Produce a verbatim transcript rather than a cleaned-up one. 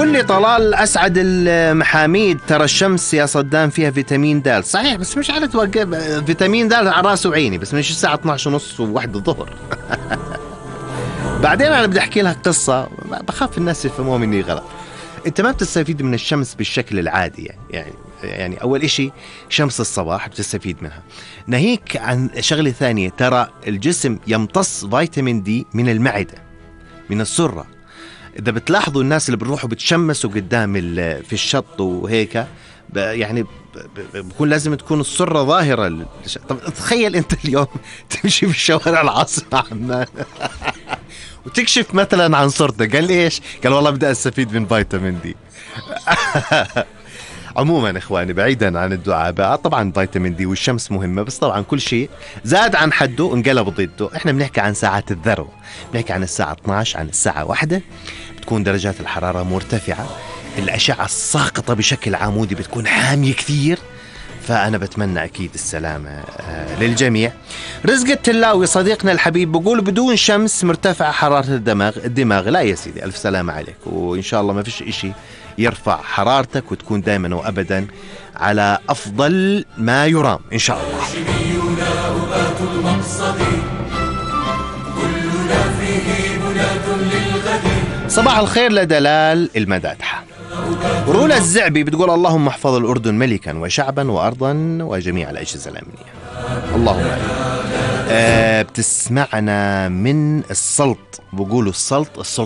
بيقول لي طلال أسعد المحاميد، ترى الشمس يا صدام فيها فيتامين د. صحيح، بس مش على توقف فيتامين د على راسه وعيني، بس مش الساعة اثناشر ونص وواحد الظهر. بعدين أنا بدي أحكي لك قصة، بخاف الناس يفهموها مني غلط. أنت ما بتستفيد من الشمس بالشكل العادي، يعني يعني يعني أول إشي شمس الصباح بتستفيد منها، ناهيك عن شغلة ثانية. ترى الجسم يمتص فيتامين دي من المعدة، من السرة. إذا بتلاحظوا الناس اللي بيروحوا بتشمسوا قدام في الشط وهيك، يعني بكون لازم تكون السرة ظاهرة. طب تخيل أنت اليوم تمشي في الشوارع العاصمة عمان وتكشف مثلا عن صورتك، قال إيش؟ قال والله بدي أستفيد من فيتامين دي. عموما إخواني، بعيدا عن الدعابة، طبعا فيتامين دي والشمس مهمة، بس طبعا كل شيء زاد عن حده انقلب ضده. احنا بنحكي عن ساعات الذروة، بنحكي عن الساعة اثناشر، عن الساعة واحدة، بتكون درجات الحرارة مرتفعة، الأشعة الساقطة بشكل عمودي بتكون حامية كثير. فأنا بتمنى أكيد السلامة للجميع. رزق التلاوي صديقنا الحبيب بقول بدون شمس مرتفع حرارة الدماغ الدماغ لا يا سيدي، ألف سلامة عليك، وإن شاء الله ما فيش إشي يرفع حرارتك وتكون دائما وأبدا على أفضل ما يرام إن شاء الله. صباح الخير لدلال المدادحة. رولا الزعبي بتقول اللهم احفظ الأردن ملكا وشعبا وأرضا وجميع الأجهزة الأمنية، اللهم آمين. أه بتسمعنا من السلط، بقولوا السلط السلط